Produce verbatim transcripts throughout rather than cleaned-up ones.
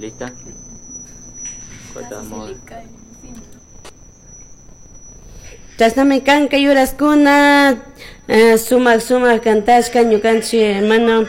¿Lista? Cortamos. Chashnami kanka yuraskuna eh, sumak sumak kantashka ñukanchik hermano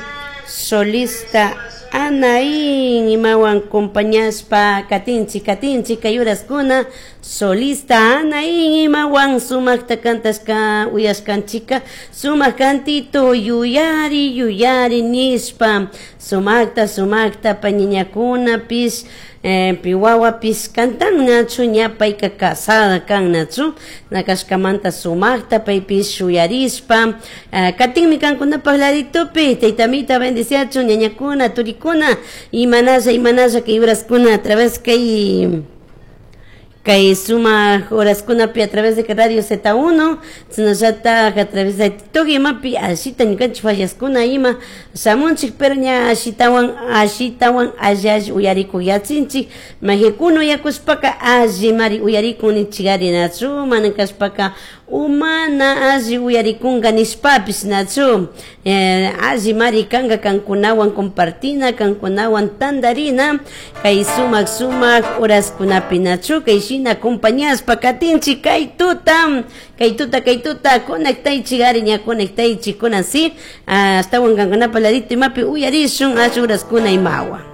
solista Anaín imawan compañashpa katinchik katinchik kay uraskuna solista Anaín imawan sumakta kantashka uyashkanchika sumak kantito yuyari yuyari nishpa sumakta sumakta pañiñakunapish eh, piwawapish kantan nachu ña payka casada kan nachu nakashkamanta sumakta paypish shuyarishpa eh, katinmi kankunapaj laditupi taytamita bendiciachun ñañakuna turikuna imanalla imanalla kay uraskuna a través kay kay sumak horaskunapi a través de Radio Z uno chashnallata a través de TikTok imapi ashita ñukanchik fallascuna ima shamunchik pero ña ashitawan ashitawan alli alli uyarikuk yachinchik majikuna uyakushpaka allimari uyarikun nichikari nachu mana kashpaka umana alli uyarikunka nishpapish nachu eh, allimari kanka kankunawan compartina kankunawan tandarina kay sumak sumak horaskunapi nachu kay shina acompañashpa katinchik kay tuta kay tuta kay tuta conectaychik ari ña conectaychik kunan si astawan kankunapa ladito imapi uyarishun asha horaskuna imawan.